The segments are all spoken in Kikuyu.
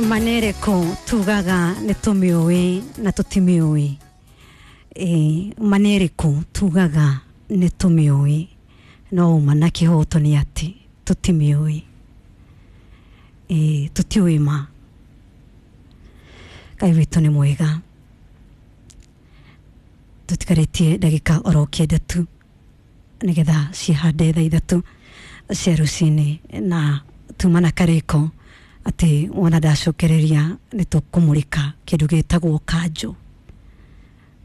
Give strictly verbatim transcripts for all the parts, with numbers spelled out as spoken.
Manereko tugaga nĩ tũmĩũĩ na tũtimĩũĩ. E, manereko tugaga nĩ tũmĩũĩ no ũma na kĩhoto nĩ atĩ tũtimĩũĩ. E, tũtiũĩ ma. Ngai witũ nĩ mwega. Tũtigarĩtie ndagĩka oro kenda tu nĩgetha cihande thaa ithatũ cia rũcinĩ, na tuma na karĩko atĩ wona ndacokereria nĩ tũkũmũrĩka kĩndũ gĩtagwo kanjũ.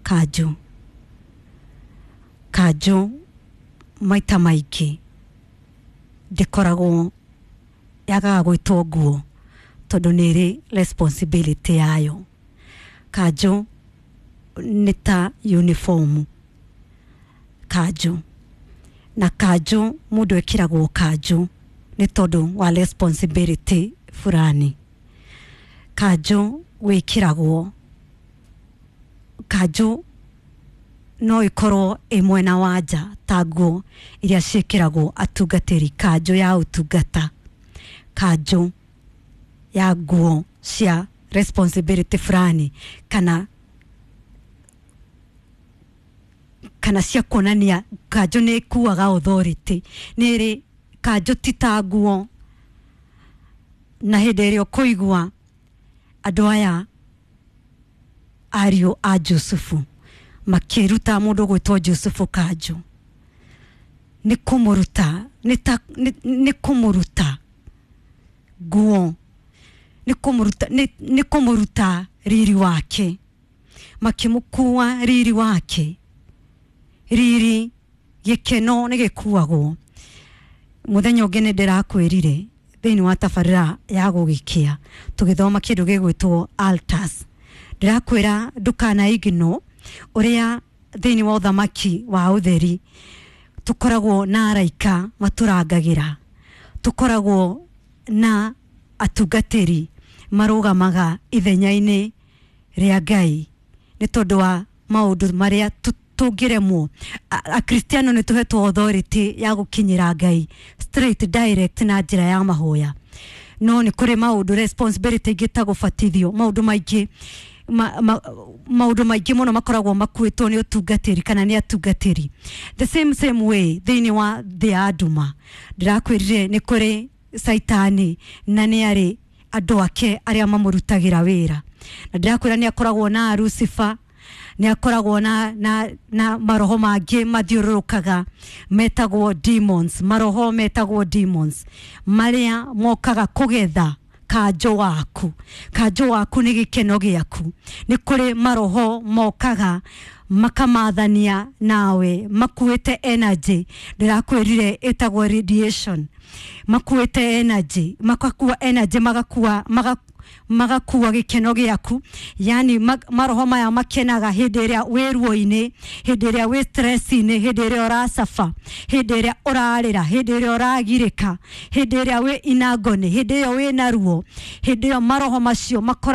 Kanjũ, kanjũ maita maingĩ ndĩkoragwo yagaga gwĩtwo nguo tondũ nĩ ĩrĩ responsibility yayo. Kanjũ nĩ ta uniform. Kanjũ na kanjũ, mũndũ ekĩragwo kanjũ nĩ tondũ wa responsibility fulani. Kanjũ wĩkĩragwo, kanjũ no ĩkorwo ĩ mwena wa nja ta nguo iria ciĩkĩragwo atungatĩri, kanjũ ya ũtungata, kanjũ ya nguo cia responsibility fulani, kana kana cia kuonania kanjũ nĩ ĩkuaga authority, nĩ ĩrĩ kanjũ ti ta nguo. Na hĩndĩ ĩrĩa ũkũigua andũ aya ariũ a Jusufu makĩruta mũndũ gwĩtwo Jusufu kanjũ, nĩ kũmũruta, nĩ ta, nĩ, nĩ kũmũruta nguo, nĩ kũmũruta, nĩ, nĩ kũmũruta riri wake, makĩmũkua riri wake. Riri gĩkeno nĩ gĩkuagwo. Mũthenya ũngĩ nĩ ndĩrakwĩrire thĩinĩ wa tabarĩra ya gũgĩkĩa tũgĩthoma kĩndũ gĩgwĩtwo altars, ndĩrakwĩra ndũkana ignore ũrĩa thĩinĩ wa ũthamaki wa ũtheri tũkoragwo na araika matũrangagĩra, tũkoragwo na atungatĩri marũgamaga ithenya-inĩ rĩa Ngai nĩ tondũ wa maũndũ marĩa tũngĩremwo. Akristiano nĩ tũhetwo authority ya gũkinyĩra Ngai straight direct na njĩra ya mahoya, no nĩ kũrĩ maũndũ responsibility ingĩ ta gũbatithio, maũndũ maingĩ ma, ma, maũndũ maingĩ mũno makoragwo makuĩtwo nĩ ũtungatĩri kana nĩ atungatĩri. The same same way thĩinĩ wa thĩ ya nduma, ndĩrakwĩrire nĩ kũrĩ Saitani na nĩ arĩ andũ ake arĩa mamũrutagĩra wĩra, na ndĩrakwĩra nĩ akoragwo na Lucifer, nĩ akoragwo na, na, na maroho mangĩ mathiũrũrũkaga metagwo demons, maroho metagwo demons marĩa mokaga kũgetha kanjũ waku. Kanjũ waku nĩ gĩkeno gĩaku. Nĩ kũrĩ maroho mokaga makamathania nawe makuĩte energy, ndĩrakwĩrire ĩtagwo radiation, makuĩte energy, makakua energy, magakua maga magakua gĩkeno gĩaku. Yani maroho maya makenaga hĩndĩ ĩrĩa wĩ ruo-inĩ, hĩndĩ ĩrĩa wĩ stress-inĩ, hĩndĩ ĩrĩa ũracaba, hĩndĩ ĩrĩa ũrarĩra, hĩndĩ ĩrĩa ũragirĩka, hĩndĩ ĩrĩa wĩ inagony, hĩndĩ ĩyo wĩ na ruo, hĩndĩ ĩyo maroho macio makoragwo